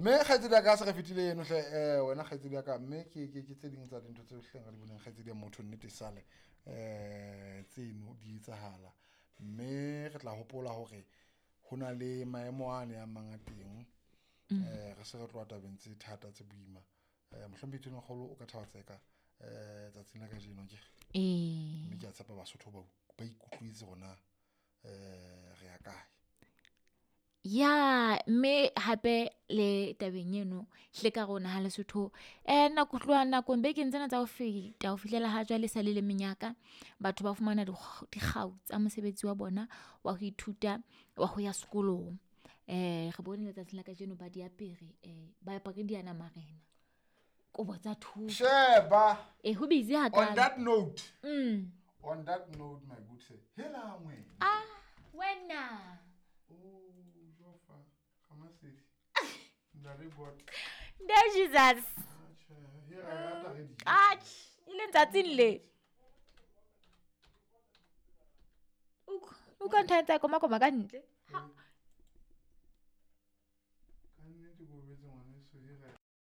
Mme kgaitsedi ya ka, se re fetile eno hle, wena kgaitsedi ya ka, mme ke tse ding tsa dintho tse hleng re di boneng, kgaitsedi ya motho, nnete sale tseno di etsahala. Mme re tla hopola hore ho na le maemo ane a mang a teng, re se re tloha tabeng tse thata tse boima. Mohlomphehi Tonakgolo o ka thaba tseka tsatsing la kajeno akere? Ee. Mme ke a tshepa Basotho ba ikutlwetse hore na re ya kae. Ya, mme hape le tabeng eno hle ka rona ha Lesotho nako tloha nakong bekeng tsena tsa ho feta ho fihlela ha jwale sa le le menyaka. Batho ba fumana dikgau tsa mosebetsi wa bona wa ho ithuta wa ho ya sekolong. Re bone letsatsing la kajeno ba di apere ba apere diyanamarena, kobo tsa thoko. Sheba. E ho busy On hakalo. that note. On that note, my good sir. Hela wena. Ah, wena. Oh, Jofa. Ramasedi. Ntate God. Nde Jesus. Atjhe, here I rata re di. Atjhe, e le ntsatsing le. O ka ntho tsa koma koma ka ntle. Ka nnete ko betse ngwaneso, here.